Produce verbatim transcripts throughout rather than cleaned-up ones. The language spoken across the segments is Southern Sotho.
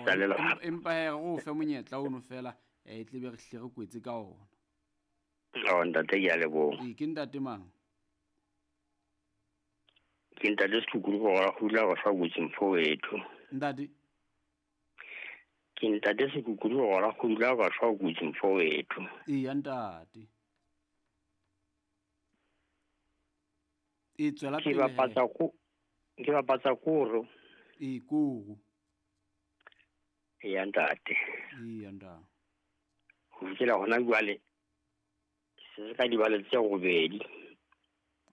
Tsa lelapa. Empa he re o fe monyetla ono fela e tle be re hle re kwetse ka ona. Oh ntate ke a leboha. Ee, ke ntate mang? Ke ntate Sekhukhune go ra hula go fa botse mfo wethu. Ntate Ke ntate Sekhukhune go ra hula go fa botse mfo wethu. Ee, ntate. E tswela Ke pele. bapatsa ko ke bapatsa koro. Ee, koro. Ee, ntate. Ee, ntate. Ho fihlela hona jwale se se ka dibale tse robedi.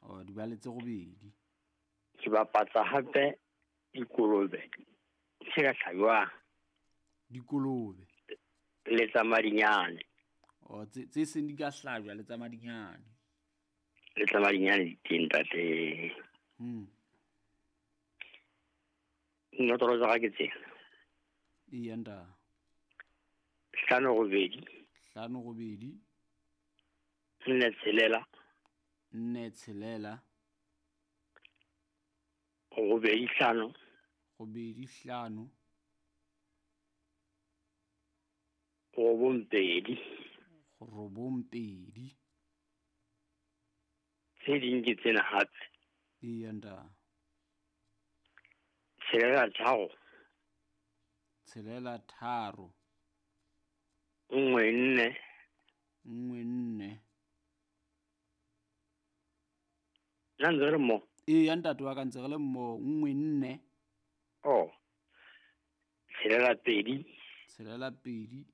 Oh, dibale tse robedi. Ke bapatsa hape dikolobe tse ka hlajwang. Dikolobe. Le tsa madinyane. Oh, tse tse seng di ka hlajwa le tsa madinyane. Le tsa madinyane di teng ntate. Hmm. Notoro tsa ka ke tsena. Ee, ntate. Hlano robedi. Hlano robedi. Nne tshelela. Nne tshelela. Robedi hlano. Robedi hlano. Robong pedi. Robong pedi. Tse ding ke tsena hape. Ee, ntate. Tshelela tharo. Tshelela tharo. Nngwe nne. Nngwe nne. Nna ntse re le mmoho? Ee, ntate wa ka ntse re le mmoho. Nngwe nne. Oh. Tshelela pedi. Tshelela pedi.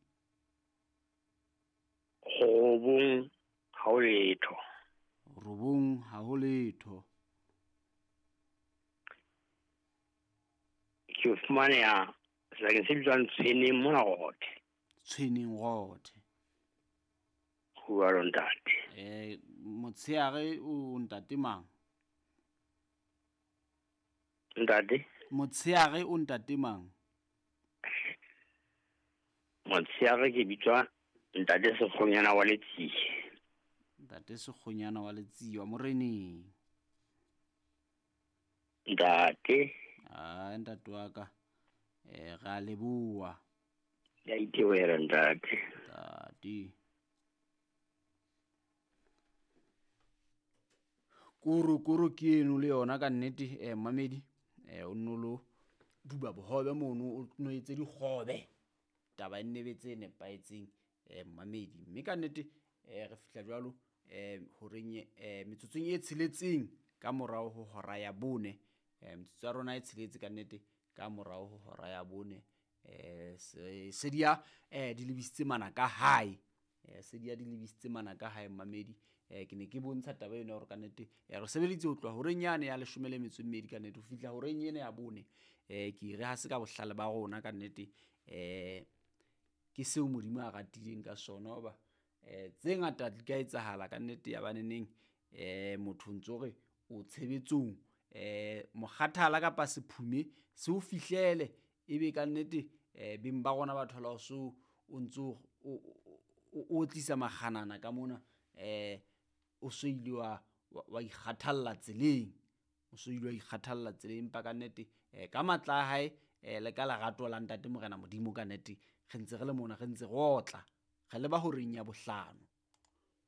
Robong ha ho letho. Robong ha ho letho. Ke fumaneha sebakeng se bitswang Tshweneng mona Rothe. Tshweneng Rothe. Ho jwalo ntate. Eh, motsheare o ntate mang? Ntate? Motsheare o ntate mang? Motsheare ke bitswa ntate Sekgonyana wa Letsie. Ntate Sekgonyana wa Letsie wa Moreneng. Ntate. Ah, ntate wa ka. Eh, ra leboha. Ya itewela ntate. Ntate. Koro koro ke eno le yona ka nnete eh mamedi eh o nno lo duba bohobe mono o no etse dikgobe taba e nnebetse e nepahetseng eh mamedi mme ka nnete eh re fihla jwalo eh horeng eh metsotsong e tsheletseng ka morao ho hora ya bone eh metsotso ya rona e tsheletse ka nnete ka morao ho hora ya bone eh se dia eh di lebisitse mana ka hae eh se dia di lebisitse mana ka hae mamedi eh ke ne ke bontsha taba ena hore ka nnete eh re sebeditse ho tloha horeng yane ya leshome le metso e mmedi ka nnete ho fihla horeng ena ya bone eh ke re ha se ka bohlale ba rona ka nnete eh ke seo Modimo a ratileng ka sona hoba eh tse ngata di ka etsahala ka nnete ya baneneng eh motho ntso re o tshebetsong eh mokgathala kapa sephume se o fihlele ebe ka nnete eh beng ba rona ba thola so o ntso o tlisa makganana ka mona eh o so ile wa wa ikgathalla tseleng o so ile wa ikgathalla tseleng empa ka nnete eh ka matla a hae eh le ka lerato la ntate Morena Modimo ka nnete re ntse re le mona re ntse re otla re leba horeng ya bohlano.